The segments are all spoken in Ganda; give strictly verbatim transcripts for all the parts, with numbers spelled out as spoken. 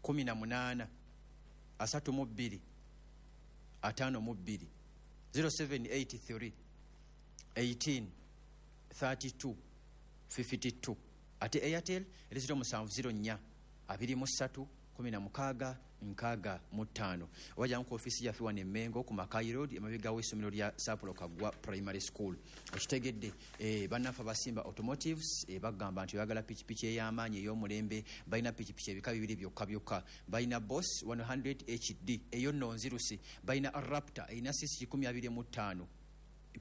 kumi na munaana asatu mu bbiri ataano mu bbiri, zero seven eight three eighteen thirty two fifty two. Ate Airtel eri zero musanvu zero nnya abiri mu ssatu kumi na mukaaga nkaaga mu ttaano. Oba jangu ku ofiisi yaffe wano e Mmengo ku Mackay Road, emabega w'essomero lya Sapulo Kaggwa Primary School. Okitegedde, eh, bannaffe abasimba Automotives, eh, bagamba nti oyagala pikipiki ey'amaanyi ey'omulembe, balina pikipiki ebika bibiri byokka byokka. Balina Boss one hundred H D eyo nno nzirusi, balina Raptor erina C C kikumi abiri mu ttaano.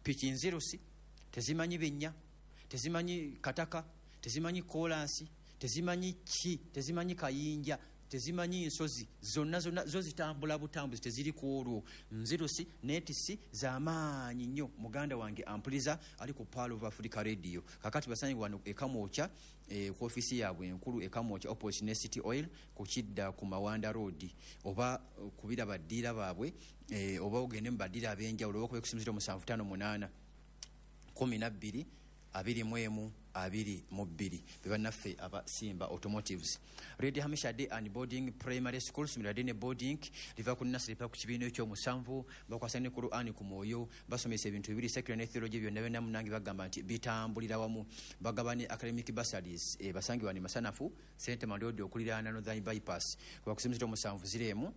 Piki nzirusi, tezimanyi binnya, tezimanyi kataka, tezimanyi kolansi, tezimanyi ki, tezimanyi kayinja, tezimanyi nsozi, zonna zonna zo zitambula butambuzi, teziri ku olwo. Nzirusi neetisi z'amaanyi nnyo. Muganda wange ampuliza ali ku Pearl of Africa Radio. Kakati basange wano e Kamwokya, eh, ku ofiisi yaabwe enkulu e Kamwokya opposite ne City Oil ku kidda ku Mawanda Road, oba kubira baddiira baabwe, eh, oba ogende mu baddiira ab'enjawulo, oba okube ku simu ziro musanvu ttaano munaana kumi na bbiri abiri mu emu abiri mu bbiri. Be bannaffe aba Simba Automotives. Red Hamisha Day and Boarding Primary School, ssomero lya Day Boarding, liva ku nursery paka ku kibiina ekyomusanvu, bakwasa ne Qur'an ku mwoyo, basomesa ebintu bibiri, secular ne theology, byonna byonna munnange bagamba nti bitambulira wamu. Bagaba ne academic bursaries, eh, basangibwa ne Masanafu, Saint Mandodi okuliraana Northern Bypass. Kuba ku simu ziro musanvu ziro emu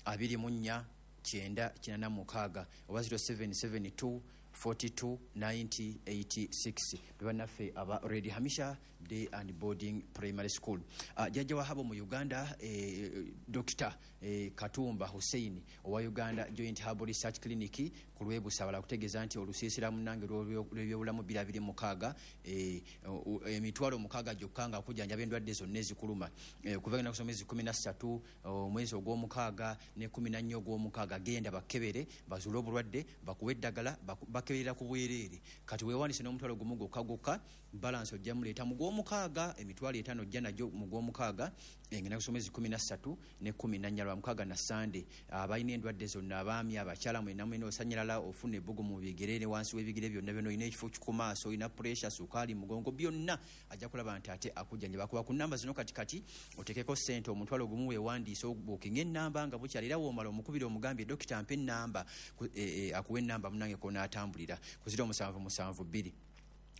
abiri mu nnya kyenda kinaana mukaaga oba zero seven seven two forty two ninety eighty six. Be bannaffe aba Red Hamisha Day and Boarding Primary School. Uh, jjajja wa Habo mu Uganda, eh, Dokita, eh, Katumba Hussein owa Uganda Joint Herbal Research Clinic ku Lwebusabala kutegeeza nti olusiisira munnange lw'ebyobulamu bbiri abiri mukaaga, eh, o-, o-, emitwalo mukaaga gyokka nga kujjanjaba endwadde zonna ezikuluma. Eh, okuva ennaku z'omwezi kkumi na ssatu, omwezi ogw'omukaaga ne kkumi na nnya ogw'omukaaga, genda bakebere bazuule obulwadde, bakuwe eddagala, baku-, bakeberera ku bwereere. Kati weewandiise n'omutwalo gumu gwokka gwokka, balance ojja muleeta mu gw'omukaaga, emitwalo etaano ojja nagyo mu gw'omukaaga, ennaku z'omwezi kkumi na ssatu ne kkumi na nnya lwa mukaaga na Sande. Abalina endwadde zonna, abaami, abakyala, mwenna mwenna osanyalala, ofuna ebbugumu mu bigere ne wansi w'ebigere byonna byonna, olina ekifo ku maaso, olina pressure, sukaali, mugongo, byonna ajja kulaba nti ate akujjanjaba. Akuba ku nnamba zino kati kati oteekeko ssente omutwalo gumu weewandiise, obuukinge ennamba nga bukyali, era w'omala omukubire omugambye dokita mpa ennamba, ku-, e, e, akuwe ennamba munnange kw'onaatambulira. Ku ziro musanvu musanvu bbiri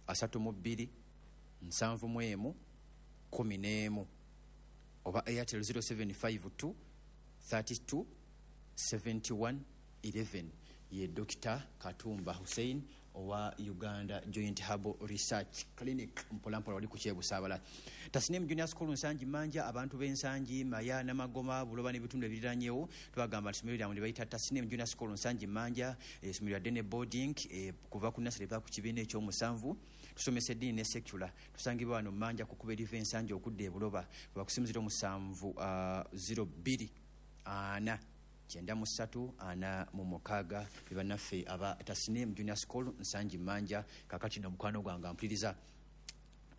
asatu mu bbiri nsanvu mu emu kkumi n'emu oba Airtel zero seven five two thirty two seventy one eleven. Ye Dokita Katumba Hussein owa Uganda Joint Herbal Research Clinic, mpolampola wali ku Kyebusaabala. Tasnim Junior School Nsangi Manja, abantu b'Ensangi, Maya, Namagoma, Buloba n'ebitundu ebiriranyeewo, tubagamba nti essomero lyammwe lye bayita Tasnim Junior School Nsangi Manja, essomero lya Dene Boarding, eh, kuva ku nursery paka ku kibiina ekyomusanvu. Tusomesa eddiini ne secular. Tusangibwa wano Manja ku kkubo eriva Ensangi okudda e Buloba, kuba ku simu ziro musanvu, ah, ziro bbiri ana kyenda mu ssatu ana mu mukaaga. Be bannaffe aba Tasnim Junior School Nsangi Manja. Kaakati nno mukwano gwange ampuliriza,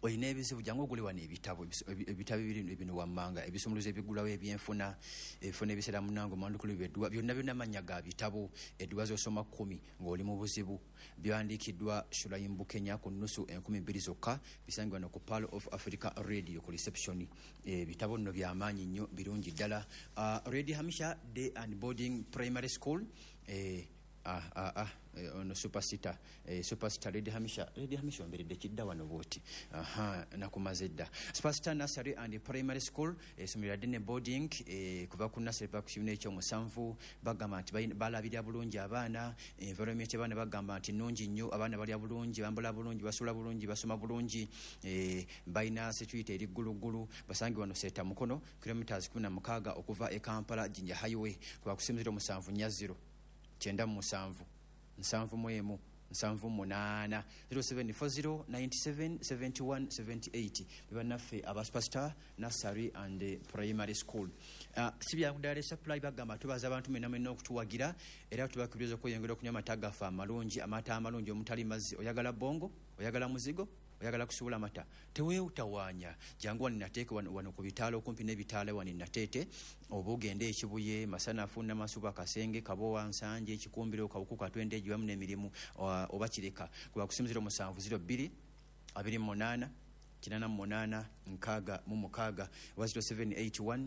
olina ebizibu, jangu ogule wano ebitabo, ebis-, ebi-, ebitabo ebiri bino wammanga, ebisumuluzo ebigulawo ebyenfuna, ebifo n'ebiseera munnange omwandukulu by'edduwa, byonna byonna mannya ga bitabo. Edduwa z'osoma kkumi ng'oli mu buzibu, byawandiikiddwa Shulaim Bukenya ku nnusu enkumi bbiri zokka, bisangibwa wano ku Pearl of Africa Radio ku reception. Ebitabo nno bya maanyi nnyo, birungi ddala. Ah, Red Hamisha Day and Boarding Primary School, eh, ah, ah, ah, eh, ono superstar, eh, superstar Red Hamisha, Red Hamisha omberedde kidda wano bw'oti. Aha, nakumaze dda. Superstar Nursery and Primary School, essomero lya Dene Boarding, eh, kuva ku nursery paka ku kibiina ekyomusanvu, bagamba nti balina, balabirira bulungi abaana, environment y'abaana bagamba nti nnungi nnyo, abaana balya bulungi, bambala bulungi, basula bulungi, basoma bulungi, eh, balina security eri gguluggulu. Basangibwa wano Seeta Mukono, kilometers kumi na mukaaga okuva e Kampala Jinja Highway, kuva ku simu ziro musanvu nnya ziro kyenda mu musanvu nsanvu mu emu nsanvu munaana, zero seven four zero ninety seven seventy one seventy eight. Be bannaffe aba Superstar Nursery and Primary School. Ah, si byangu ddala supply, bagamba tubaza abantu mwenna mwenna okutuwagira, era tubakubiriza okweyongera okunywa amata gaffe amalungi, amata amalungi omutali mazzi. Oyagala bongo, oyagala muzigo, oyagala kusuula amata, teweewutawaanya, jangu wano nateeke wano, wano ku bitaala, okumpi n'ebitaala wano Nateete, oba ogende e Kibuye, Masanafu, Namasuba, Kasenge, Kabowa, Nsanje, Kikumbiro, Kawuku, Katwende, Egiwamu n'emirimu, oba, oba Kireka. Kuba ku simu ziro musanvu ziro bbiri abiri mu munaana kinaana mu munaana nkaaga mu mukaaga oba ziro seven eight one